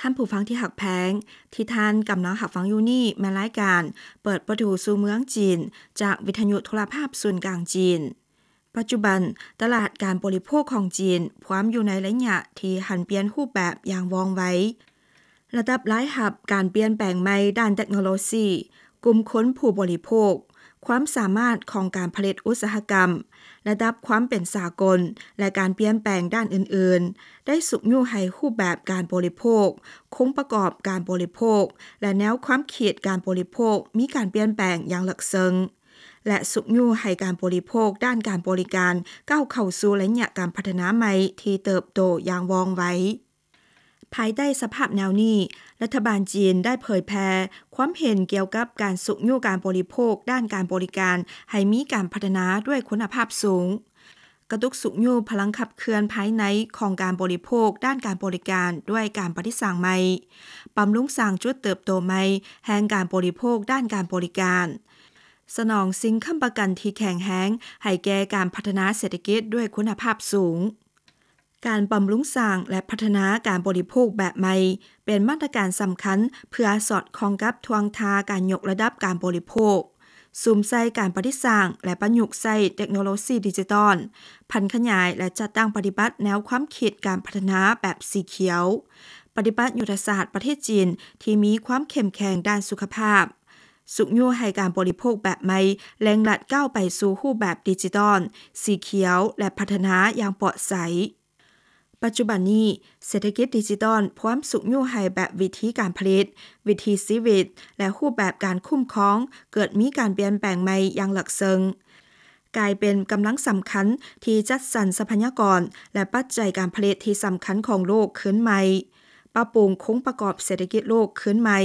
ທ່ານຜູ້ຟັງທີ່ຮັກແພງ, ທີ່ທ່ານກຳລັງຮັບຟັງຢູ່ນີ້ແມ່ນລາຍການເປີດປະຕູສູ່ເມືອງຈີນ ຈາກວິທະຍຸໂທລະພາບສູນກາງຈີນ. ປັດຈຸບັນ, ຕະຫຼາດການບໍລິໂພກຂອງຈີນພວມຢູ່ໃນໄລຍະທີ່ຫັນປ່ຽນຮູບແບບຢ່າງວ່ອງໄວ. ລະດັບລາຍຮັບ, ການປ່ຽນແປງໃໝ່ດ້ານເຕັກໂນໂລຊີ, ກຸ່ມຄົນຜູ້ບໍລິໂພກ, ຄວາມສາມາດຂອງການຜະລິດອຸດສາຫະກຳ, ລະດັບຄວາມເປັນສາກົນ ແລະ ການປ່ຽນແປງດ້ານອື່ນໆ ໄດ້ຊຸກຍູ້ໃຫ້ຮູບແບບການບໍລິໂພກ, ໂຄງປະກອບການບໍລິໂພກ ແລະ ແນວຄວາມຄິດການບໍລິໂພກມີການປ່ຽນແປງຢ່າງເລິກເຊິ່ງ ແລະ ຊຸກຍູ້ໃຫ້ການບໍລິໂພກດ້ານການບໍລິການກ້າວເຂົ້າສູ່ໄລຍະການພັດທະນາໃໝ່ທີ່ເຕີບໂຕຢ່າງວ່ອງໄວ. ພາຍໃຕ້ສະພາບແນວນີ້, ລັດຖະບານຈີນໄດ້ເຜີຍແຜ່ຄວາມເຫັນກ່ຽວກັບການຊຸກຍູ້ການບໍລິໂພກດ້ານການບໍລິການໃຫ້ມີການພັດທະນາດ້ວຍຄຸນນະພາບສູງ, ກະຕຸກຊຸກຍູ້ພະລັງຂັບເຄື່ອນພາຍໃນຂອງການບໍລິໂພກດ້ານການບໍລິການດ້ວຍການປະດິດສ້າງໃໝ່, ບຳລຸງສ້າງຈຸດເຕີບໂຕໃໝ່ແຫ່ງການບໍລິໂພກດ້ານການບໍລິການ, ສະໜອງສິ່ງຄ້ຳປະກັນທີ່ແຂງແຮງໃຫ້ແກ່ການພັດທະນາເສດຖະກິດດ້ວຍຄຸນນະພາບສູງ. ການບຳລຸງສ້າງ ແລະ ພັດທະນາການບໍລິໂພກແບບໃໝ່ ເປັນມາດຕະການສຳຄັນເພື່ອສອດຄ່ອງກັບທ່ວງທ່າການຍົກລະດັບການບໍລິໂພກ, ສຸມໃສ່ການປະດິດສ້າງ ແລະ ປະຍຸກໃຊ້ເຕັກໂນໂລຊີດິຈິຕອນ, ຜັນຂະຫຍາຍ ແລະ ຈັດຕັ້ງປະຕິບັດແນວຄວາມຄິດການພັດທະນາແບບສີຂຽວ, ປະຕິບັດຍຸດທະສາດປະເທດຈີນທີ່ມີຄວາມເຂັ້ມແຂງດ້ານສຸຂະພາບ, ຊຸກຍູ້ໃຫ້ການບໍລິໂພກແບບໃໝ່ເລັ່ງລັດກ້າວໄປສູ່ຮູບແບບດິຈິຕອນ, ສີຂຽວ ແລະ ພັດທະນາຢ່າງປອດໃສ. ປັດຈຸບັນນີ້, ເສດຖະກິດດິຈິຕອນພວມຊຸກຍູ້ໃຫ້ແບບວິທີການຜະລິດ, ວິຖີຊີວິດ ແລະ ຮູບແບບການຄຸ້ມຄອງເກີດມີການປ່ຽນແປງໃໝ່ຢ່າງເລິກເຊິ່ງ, ກາຍເປັນກຳລັງສຳຄັນທີ່ຈັດສັນຊັບພະຍາກອນ ແລະ ປັດໄຈການຜະລິດທີ່ສຳຄັນຂອງໂລກຄືນໃໝ່, ປັບປຸງໂຄງປະກອບເສດຖະກິດໂລກຄືນໃໝ່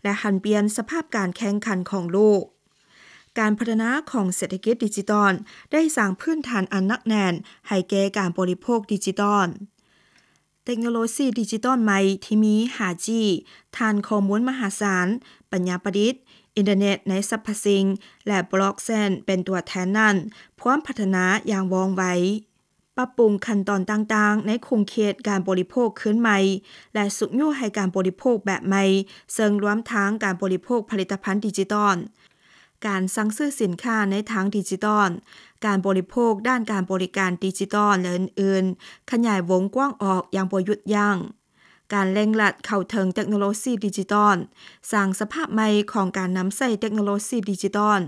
ແລະ ຫັນປ່ຽນສະພາບການແຂ່ງຂັນຂອງໂລກ. ການພັດທະນາຂອງເສດຖະກິດດິຈິຕອນໄດ້ສ້າງພື້ນຖານອັນໜັກແໜ້ນໃຫ້ແກ່ການບໍລິໂພກດິຈິຕອນ. ເຕັກໂນໂລຊີດິຈິຕອນໃໝ່ທີ່ມີຫ້າຈີ ຖານຂໍ້ມູນມະຫາສານ, ປັນຍາປະດິດ, ອິນເຕີເນັດໃນສັບພະສິ່ງ ແລະ ບລັອກເຊນເປັນຕົວແທນນັ້ນ ພວມພັດທະນາຢ່າງວ່ອງໄວ, ປັບປຸງຂັ້ນຕອນຕ່າງໆໃນຂົງເຂດການບໍລິໂພກຄືນໃໝ່ ແລະ ຊຸກຍູ້ໃຫ້ການບໍລິໂພກແບບໃໝ່, ເຊິ່ງລວມທັງການບໍລິໂພກຜະລິດຕະພັນດິຈິຕອນ, ການສັ່ງຊື້ສິນຄ້າໃນທາງດິຈິຕອນ, ການບໍລິໂພກດ້ານການບໍລິການດິຈິຕອນ ແລະ ອື່ນໆ ຂະຫຍາຍວົງກວ້າງອອກຢ່າງບໍ່ຢຸດຢັ້ງ. ການເລັ່ງລັດເຂົ້າເຖິງເຕັກໂນໂລຊີດິຈິຕອນ, ສ້າງສະພາບໃໝ່ຂອງການນຳໃຊ້ເຕັກໂນໂລຊີດິຈິຕອນ,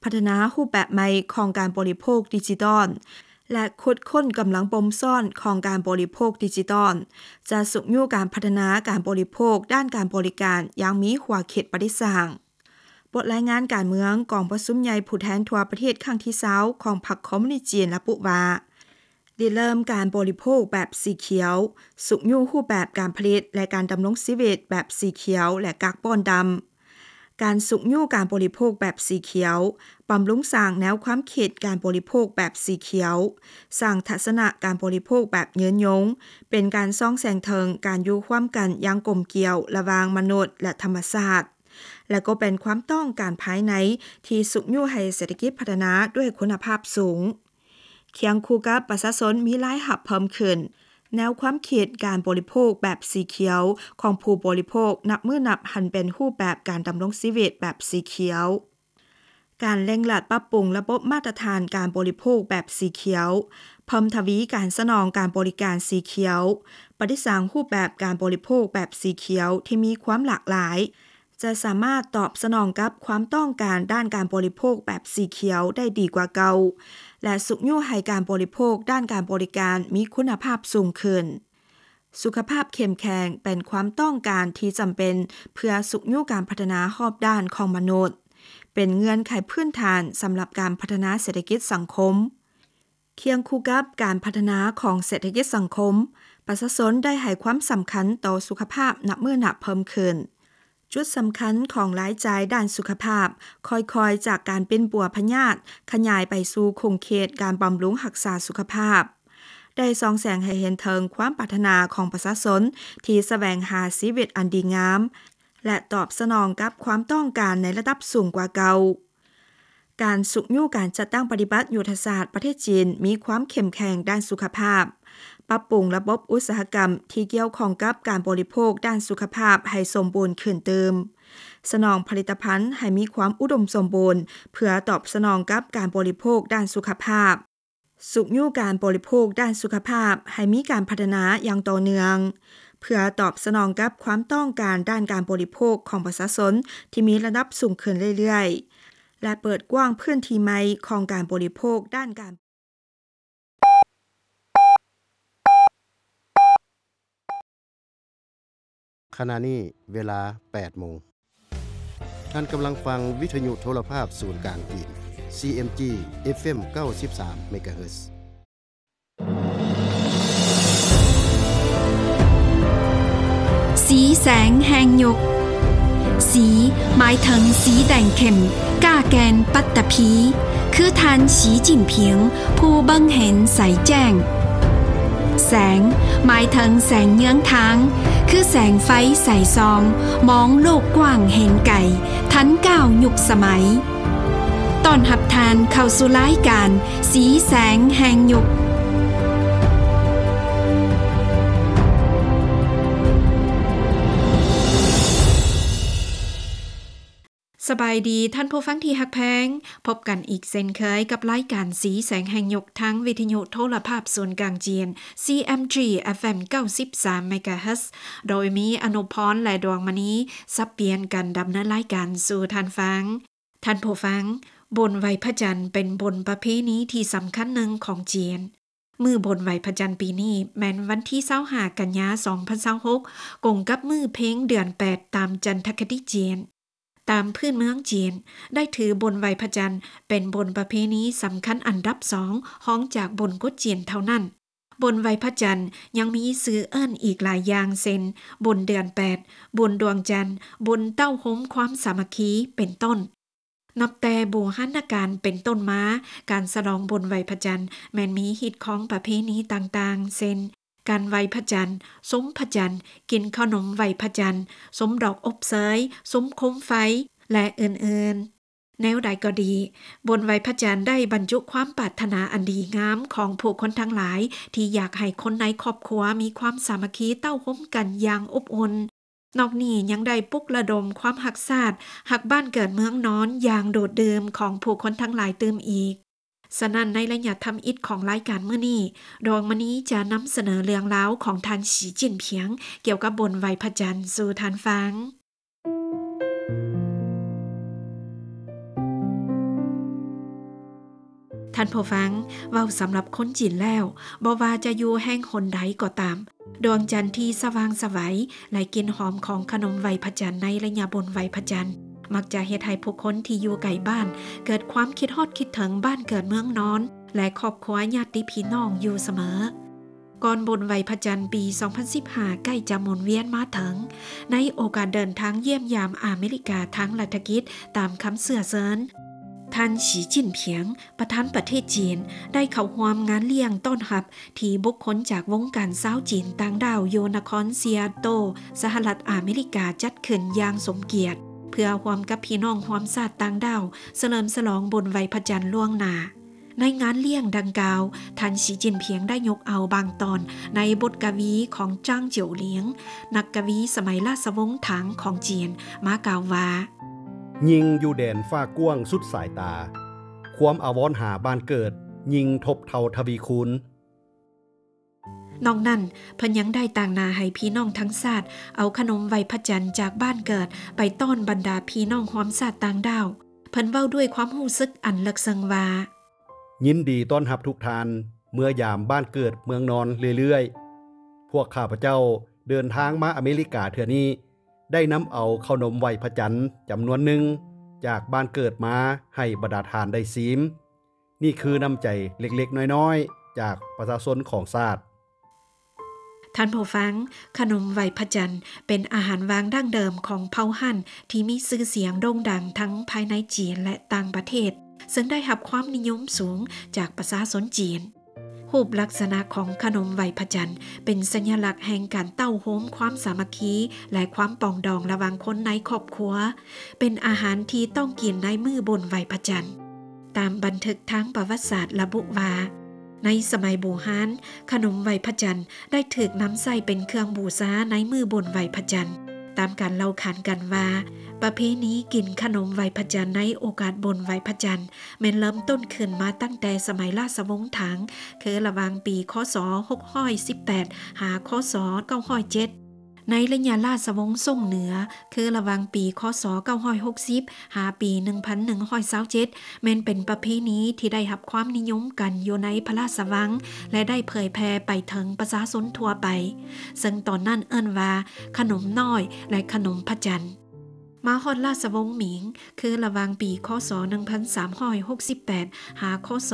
ພັດທະນາຮູບແບບໃໝ່ຂອງການບໍລິໂພກດິຈິຕອນ ແລະ ຂຸດຄົ້ນກຳລັງບົ່ມຊ້ອນຂອງການບໍລິໂພກດິຈິຕອນ ຈະຊຸກຍູ້ການພັດທະນາການບໍລິໂພກດ້ານການບໍລິການຢ່າງມີຂົວຄິດປະດິດສ້າງ. ບົດລາຍງານການເມືອງກອງປະຊຸມໃຫຍ່ຜູ້ແທນທົ່ວປະເທດຄັ້ງທີຊາວຂອງພັກຄອມມູນິດຈີນລະບຸວ່າ, ລິເລີ່ມການບໍລິໂພກແບບສີຂຽວ, ຊຸກຍູ້ຮູບແບບການຜະລິດ ແລະ ການດຳລົງຊີວິດແບບສີຂຽວ ແລະ ກາກບອນດຳ. ການຊຸກຍູ້ການບໍລິໂພກແບບສີຂຽວ, ບຳລຸງສ້າງແນວຄວາມຄິດການບໍລິໂພກແບບສີຂຽວ, ສ້າງທັດສະນະການບໍລິໂພກແບບຍືນຍົງ, ເປັນການສ່ອງແສງເຖິງການຢູ່ຮ່ວມກັນຢ່າງກົມກຽວລະຫວ່າງມະນຸດ ແລະ ທຳມະຊາດ. ແລະ ກໍເປັນຄວາມຕ້ອງການພາຍໃນທີ່ຊຸກຍູ້ໃຫ້ເສດຖະກິດພັດທະນາດ້ວຍຄຸນນະພາບສູງ. ຄຽງຄູ່ກັບປະຊາຊົນມີລາຍຮັບເພີ່ມຂຶ້ນ, ແນວຄວາມຄິດການບໍລິໂພກແບບສີຂຽວຂອງຜູ້ບໍລິໂພກນັບມື້ນັບຫັນເປັນຮູບແບບການດຳລົງຊີວິດແບບສີຂຽວ. ການເລັ່ງລັດປັບປຸງລະບົບມາດຕະຖານການບໍລິໂພກແບບສີຂຽວ, ເພີ່ມທະວີການສະໜອງການບໍລິການສີຂຽວ, ປະດິດສ້າງຮູບແບບການບໍລິໂພກແບບສີຂຽວທີ່ມີຄວາມຫຼາກຫຼາຍ, ຈະສາມາດຕອບສະໜອງກັບຄວາມຕ້ອງການດ້ານການບໍລິໂພກແບບສີຂຽວໄດ້ດີກວ່າເກົ່າ ແລະ ຊຸກຍູ້ໃຫ້ການບໍລິໂພກດ້ານການບໍລິການມີຄຸນນະພາບສູງຂຶ້ນ. ສຸຂະພາບເຂັ້ມແຂງເປັນຄວາມຕ້ອງການທີ່ຈຳເປັນເພື່ອຊຸກຍູ້ການພັດທະນາຮອບດ້ານຂອງມະນຸດ, ເປັນເງື່ອນໄຂພື້ນຖານສຳລັບການພັດທະນາເສດຖະກິດສັງຄົມ. ຄຽງຄູ່ກັບການພັດທະນາຂອງເສດຖະກິດສັງຄົມ, ປະຊາຊົນໄດ້ໃຫ້ຄວາມສຳຄັນຕໍ່ສຸຂະພາບນັບມື້ນັບເພີ່ມຂຶ້ນ. ຈຸດສຳຄັນຂອງລາຍຈ່າຍດ້ານສຸຂະພາບ ຄ່ອຍໆຈາກການປິ່ນປົວພະຍາດ ຂະຫຍາຍໄປສູ່ຂົງເຂດການບຳລຸງຮັກສາສຸຂະພາບ, ໄດ້ສ່ອງແສງໃຫ້ເຫັນເຖິງຄວາມປາດຖະໜາຂອງປະຊາຊົນທີ່ສະແຫວງຫາຊີວິດອັນດີງາມ ແລະ ຕອບສະໜອງກັບຄວາມຕ້ອງການໃນລະດັບສູງກວ່າເກົ່າ. ການຊຸກຍູ້ການຈັດຕັ້ງປະຕິບັດຍຸດທະສາດປະເທດຈີນມີຄວາມເຂັ້ມແຂງດ້ານສຸຂະພາບ, ປັບປຸງລະບົບອຸດສາຫະກຳທີ່ກ່ຽວຂ້ອງກັບການບໍລິໂພກດ້ານສຸຂະພາບໃຫ້ສົມບູນຂຶ້ນຕື່ມ, ສະໜອງຜະລິດຕະພັນໃຫ້ມີຄວາມອຸດົມສົມບູນ ເພື່ອຕອບສະໜອງກັບການບໍລິໂພກດ້ານສຸຂະພາບ, ຊຸກຍູ້ການບໍລິໂພກດ້ານສຸຂະພາບໃຫ້ມີການພັດທະນາຢ່າງຕໍ່ເນື່ອງ ເພື່ອຕອບສະໜອງກັບຄວາມຕ້ອງການດ້ານການບໍລິໂພກຂອງປະຊາຊົນທີ່ມີລະດັບສູງຂຶ້ນເລື້ອຍໆ ແລະ ເປີດກວ້າງພື້ນທີ່ໃໝ່ຂອງການບໍລິໂພກດ້ານການ ຂະນະນີ້ເວລາແປດໂມງ. ທ່ານກຳລັງຟັງວິທະຍຸໂທລະພາບສູນກາງຈີນ ຊີເອັມຈີ ເອັຟເອັມ ເກົ້າສິບສາມ ເມກາເຮີດ. ສີແສງແຫ່ງຍຸກ. ສີ ໝາຍເຖິງສີແດງເຂັ້ມ, ກ້າແກ່ນ, ປັດຕະພີ ຄືທ່ານ ສີຈິ້ນຜິງ ຜູ້ເບິ່ງເຫັນໃສແຈ້ງ. ແສງ ໝາຍເຖິງແສງເຍືອງທາງ ຄືແສງໄຟໃສສ່ອງ, ມອງໂລກກວ້າງເຫັນໄກ, ທັນກ້າວຍຸກສະໄໝ. ຕ້ອນຮັບທ່ານເຂົ້າສູ່ລາຍການ ສີແສງແຫ່ງຍຸກ. ສະບາຍດີທ່ານຜູ້ຟັງທີ່ຮັກແພງ, ພົບກັນອີກເຊັ່ນເຄີຍກັບລາຍການສີແສງແຫ່ງຍຸກ ທາງວິທະຍຸໂທລະພາບສູນກາງຈີນ ຊີເອັມຈີ ເອັຟເອັມ ເກົ້າສິບສາມ ເມກາເຮີດ ໂດຍມີອະນຸພອນ ແລະ ດວງມະນີ ສັບປ່ຽນກັນດຳເນີນລາຍການສູ່ທ່ານຟັງ. ທ່ານຜູ້ຟັງ, ບຸນໄຫວ້ພະຈັນເປັນບຸນປະເພນີທີ່ສຳຄັນໜຶ່ງຂອງຈີນ. ມື້ບຸນໄຫວ້ພະຈັນປີນີ້ແມ່ນວັນທີຊາວຫ້າ ກັນຍາ ສອງພັນຊາວຫົກ ກົງກັບມື້ເພັງເດືອນແປດຕາມຈັນທະຄະຕິຈີນ. ຕາມພື້ນເມືອງຈີນ ໄດ້ຖືບຸນໄຫວ້ພະຈັນເປັນບຸນປະເພນີສຳຄັນອັນດັບສອງ ຮອງຈາກບຸນກຸດຈີນເທົ່ານັ້ນ. ບຸນໄຫວ້ພະຈັນຍັງມີຊື່ເອີ້ນອີກຫຼາຍຢ່າງ ເຊັ່ນ ບຸນເດືອນແປດ, ບຸນດວງຈັນ, ບຸນເຕົ້າໂຮມຄວາມສາມັກຄີ ເປັນຕົ້ນ. ນັບແຕ່ບູຮານະການເປັນຕົ້ນມາ, ການສະຫຼອງບຸນໄຫວ້ພະຈັນແມ່ນມີຮີດຄອງປະເພນີຕ່າງໆ ເຊັ່ນ ການໄຫວ້ພະຈັນ, ຊົມພະຈັນ, ກິນເຂົ້າໜົມໄຫວ້ພະຈັນ, ຊົມດອກອົບເຊີຍ, ຊົມໂຄມໄຟ ແລະ ອື່ນໆ. ແນວໃດກໍດີ, ບຸນໄຫວ້ພະຈັນໄດ້ບັນຈຸຄວາມປາດຖະໜາອັນດີງາມຂອງຜູ້ຄົນທັງຫຼາຍ ທີ່ຢາກໃຫ້ຄົນໃນຄອບຄົວມີຄວາມສາມັກຄີເຕົ້າໂຮມກັນຢ່າງອົບອຸ່ນ. ນອກນີ້ຍັງໄດ້ປຸກລະດົມຄວາມຮັກຊາດ, ຮັກບ້ານເກີດເມືອງນອນຢ່າງດູດດື່ມຂອງຜູ້ຄົນທັງຫຼາຍຕື່ມອີກ. ສະນັ້ນ, ໃນໄລຍະທຳອິດຂອງລາຍການມື້ນີ້, ດວງມະນີຈະນຳສະເໜີເລື່ອງລາວຂອງທ່ານ ສີຈິ້ນຜິງ ກ່ຽວກັບບຸນໄຫວ້ພະຈັນສູ່ທ່ານຟັງ. ທ່ານຜູ້ຟັງ, ເວົ້າສຳລັບຄົນຈີນແລ້ວ, ບໍ່ວ່າຈະຢູ່ແຫ່ງຫົນໃດກໍຕາມ, ດວງຈັນທີ່ສະຫວ່າງສະໄຫວ ແລະ ກິ່ນຫອມຂອງຂະໜົມໄຫວ້ພະຈັນໃນໄລຍະບຸນໄຫວ້ພະຈັນ ມັກຈະເຮັດໃຫ້ຜູ້ຄົນທີ່ຢູ່ໄກບ້ານເກີດຄວາມຄິດຮອດຄິດເຖິງບ້ານເກີດເມືອງນອນ ແລະ ຄອບຄົວຍາດຕິພີ່ນ້ອງຢູ່ສະເໝີ. ກ່ອນບຸນໄຫວ້ພະຈັນປີສອງພັນສິບຫ້າໃກ້ຈະໝູນວຽນມາເຖິງ, ໃນໂອກາດເດີນທາງຢ້ຽມຢາມອາເມລິກາທາງລັດຖະກິດຕາມຄຳເຊື້ອເຊີນ, ທ່ານ ສີຈິ້ນຜິງ ປະທານປະເທດຈີນ ໄດ້ເຂົ້າຮ່ວມງານລ້ຽງຕ້ອນຮັບ ທີ່ບຸກຄົນຈາກວົງການຊາວຈີນຕ່າງດ້າວຢູ່ນະຄອນຊີແອດເທິລ ສະຫະລັດອາເມລິກາ ຈັດຂຶ້ນຢ່າງສົມກຽດ ເພື່ອຮ່ວມກັບພີ່ນ້ອງຮ່ວມຊາດຕ່າງດ້າວ ສະເຫຼີມສະຫຼອງບຸນໄຫວ້ພະຈັນລ່ວງໜ້າ. ໃນງານລ້ຽງດັ່ງກ່າວ, ທ່ານ ສີຈິ້ນຜິງ ໄດ້ຍົກເອົາບາງຕອນໃນບົດກະວີຂອງ ຈາງ ເຈີວຫຼຽງ ນັກກະວີສະໄໝລາຊະວົງຖັງຂອງຈີນ ມາກ່າວວ່າ, ຍິ່ງຢູ່ແດນຟ້າກວ້າງສຸດສາຍຕາ, ຄວາມອາວອນຫາບ້ານເກີດຍິ່ງທົບເທົ່າທະວີຄູນ. ນອກນັ້ນ, ເພິ່ນຍັງໄດ້ຕາງໜ້າໃຫ້ພີ່ນ້ອງທັງຊາດ ເອົາຂະໜົມໄຫວ້ພະຈັນຈາກບ້ານເກີດໄປຕ້ອນບັນດາພີ່ນ້ອງຮ່ວມຊາດຕ່າງດ້າວ. ເພິ່ນເວົ້າດ້ວຍຄວາມຮູ້ສຶກອັນເລິກເຊິ່ງວ່າ, ຍິນດີຕ້ອນຮັບທຸກທ່ານເມືອຍາມບ້ານເກີດເມືອງນອນເລື້ອຍໆ. ພວກຂ້າພະເຈົ້າເດີນທາງມາອາເມລິກາເທື່ອນີ້ ໄດ້ນຳເອົາເຂົ້າໜົມໄຫວ້ພະຈັນຈຳນວນໜຶ່ງຈາກບ້ານເກີດມາໃຫ້ບັນດາທ່ານໄດ້ຊີມ. ນີ້ຄືນ້ຳໃຈເລັກໆນ້ອຍໆຈາກປະຊາຊົນຂອງຊາດ. ທ່ານຜູ້ຟັງ, ຂະໜົມໄຫວ້ພະຈັນເປັນອາຫານຫວ່າງດັ້ງເດີມຂອງເຜົ່າຮັນທີ່ມີຊື່ສຽງໂດ່ງດັງທັງພາຍໃນຈີນ ແລະ ຕ່າງປະເທດ, ເຊິ່ງໄດ້ຮັບຄວາມນິຍົມສູງຈາກປະຊາຊົນຈີນ. ຮູບລັກສະນະຂອງຂະໜົມໄຫວ້ພະຈັນເປັນສັນຍະລັກແຫ່ງການເຕົ້າໂຮມຄວາມສາມັກຄີ ແລະ ຄວາມປອງດອງລະຫວ່າງຄົນໃນຄອບຄົວ, ເປັນອາຫານທີ່ຕ້ອງກິນໃນມື້ບຸນໄຫວ້ພະຈັນ. ຕາມບັນທຶກທາງປະຫວັດສາດລະບຸວ່າ, ໃນສະໄໝບູຮານ, ຂະໜົມໄຫວ້ພະຈັນໄດ້ຖືກນຳໃຊ້ເປັນເຄື່ອງບູຊາໃນມື້ບຸນໄຫວ້ພະຈັນ. ຕາມການເລົ່າຂານກັນວ່າ, ປະເພນີກິນຂະໜົມໄຫວ້ພະຈັນໃນໂອກາດບຸນໄຫວ້ພະຈັນ ແມ່ນເລີ່ມຕົ້ນຂຶ້ນມາຕັ້ງແຕ່ສະໄໝລາຊະວົງຖັງ, ຄືລະຫວ່າງປີ ຄ.ສ. ຫົກຮ້ອຍສິບແປດ ຫາ ຄ.ສ. ເກົ້າຮ້ອຍເຈັດ. ໃນໄລຍະລາຊະວົງຊົງເໜືອ, ຄືລະຫວ່າງປີ ຄ.ສ. ເກົ້າຮ້ອຍຫົກສິບ ຫາປີ ໜຶ່ງພັນໜຶ່ງຮ້ອຍຊາວເຈັດ ແມ່ນເປັນປະເພນີທີ່ໄດ້ຮັບຄວາມນິຍົມກັນຢູ່ໃນພະລາຊະວັງ ແລະ ໄດ້ເຜີຍແຜ່ໄປເຖິງປະຊາຊົນທົ່ວໄປ, ເຊິ່ງຕອນນັ້ນເອີ້ນວ່າ ຂະໜົມນ້ອຍ ແລະ ຂະໜົມພະຈັນ. ມາຮອດລາຊະວົງໝິງ, ຄືລະຫວ່າງປີ ຄ.ສ. ໜຶ່ງພັນສາມຮ້ອຍຫົກສິບແປດ ຫາ ຄ.ສ.